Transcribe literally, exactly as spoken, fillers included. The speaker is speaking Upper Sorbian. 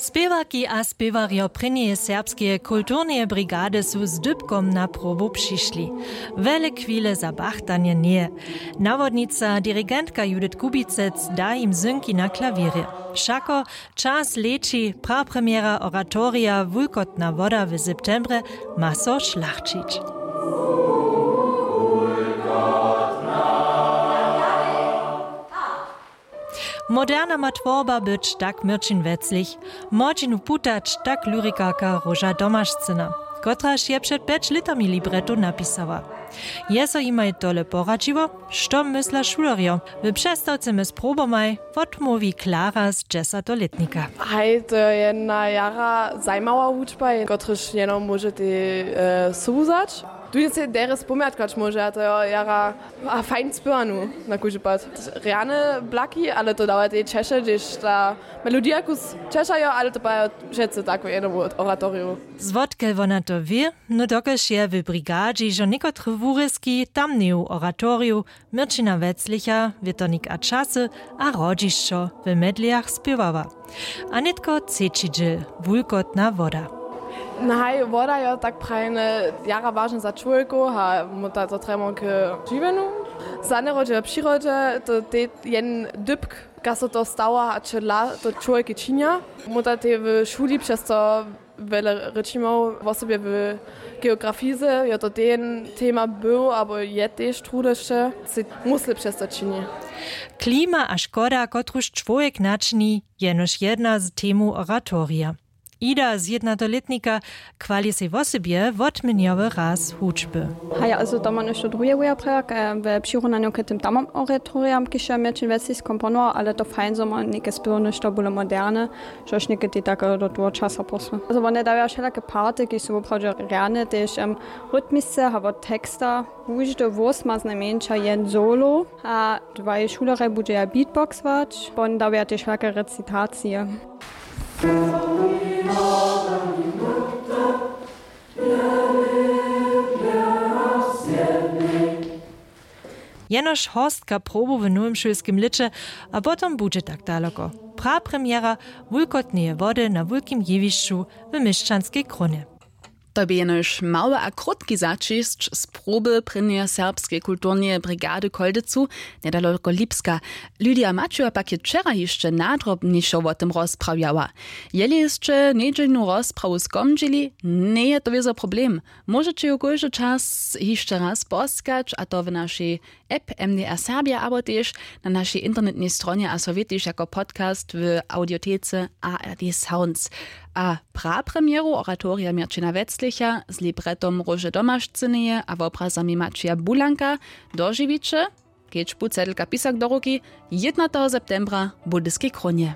Spěwarki a spěwarjo prěnjeje serbskeje kulturneje brigady su z dypkom na probu přišli. Wjele chwile za bachtanje njeje. Nawodnica dirigentka Judith Kubicec da jim zynki na klawěrje. Wšako, čas leći, prapremjera oratorija Wulkotna woda w septembrje ma so šlachćić. Moderna ma twórba być, tak Měrćin Weclich. Młodźinu putać, tak lyrikarka Róža Domašcyna, kotraž je před pjeć lětami libreto napisała. Je so jimaj tole poradźiło? Što mysla šulerjo? W přestawce mjez probomaj wotmołwi Klara z dźesatolětnika. Haj, to je jedna jara zajimawa wučba, kotryž jeno móžetej e, suwzać. Tu je sej derje spomjatkować móže, a to je jara a fajn spěwanu na kóždy pad. Rjane blaki, ale to dawa tej češe, hdyž ta melodija kus češajo, ale to pa je přece tako jedno w oratoriju. Zwotke wona to wě? No dokelž je w brigadźi hižo někotre wurězki tamneju oratoriju Měrćina Weclicha, Wětrnik a časy a Hrodźišćo w medlijach spěwała. A nětko třeći dźěl, Wulkotna woda. Nahaj, woda jo, tak prajene, jara wažne za čłowjekow a móta to trjemo k žiwjenju. Za njerodźe w přirodźe to te jen dypk, kaž so to stawa a čedla to čłowjeki činja. Móta te w šuli přez to wjele rěčimow, wosebje w geografize jo to ten tema był abo je tež trudyšće, sej musle přez to čini. Klima a škoda, kotruž čłowjek načini, jenož jedna z temow oratorija. Ida z jednatolětnika chwali sej wosebje wotměnjowy raz hudźby. Haj, also to ma něšto druhe wuja prjak we přirunanju k tym tamom oratoriam, kiž je Měrćin Weclich skomponował, ale to fajn zo ma něke spěwny što bóle moderne, štož někdy tak do toho časa posły. Also wone dawaja wšelake party, kiž su woprawdźe rjane, tež em, rytmisce a wot teksta. Kóždy hłós ma znajmjeńša jen solo a dwaj šulerjej budźeja beatboxować, pon dawaja tež wšelake recitacije. Jenož horstka probow w nowym šulskim lěće a potom budźe tak daloko. Prapremjera Wulkotneje wody na wulkim jewišću w Měšćanskej krónje. To bě jenož mały a krótki zaćišć z proby prěnjeje serbskeje kulturneje brigady w Chóldecu, njedaloko Lipska. Lydia Maćuja pak je wčera hišće nadrobnišo wo tym rozprawjała. Jeli sće njedźelnu rozprawu skomdźili, njeje to wězo problem. Móžeće ju kóždy čas hišće raz poskać, a to w našej app M D R Serbia abo tež na našej internetnej stronje a so wětiš jako podcast w audiotece A R D Sounds. A prapremjeru oratorija Měrćina Weclicha z libretom Róže Domašcyneje a wobrazami Maćija Bulanka dožiwiće, kedźbu cedelka pisak do ruki, jědnateho septembra w Budyskej krónje.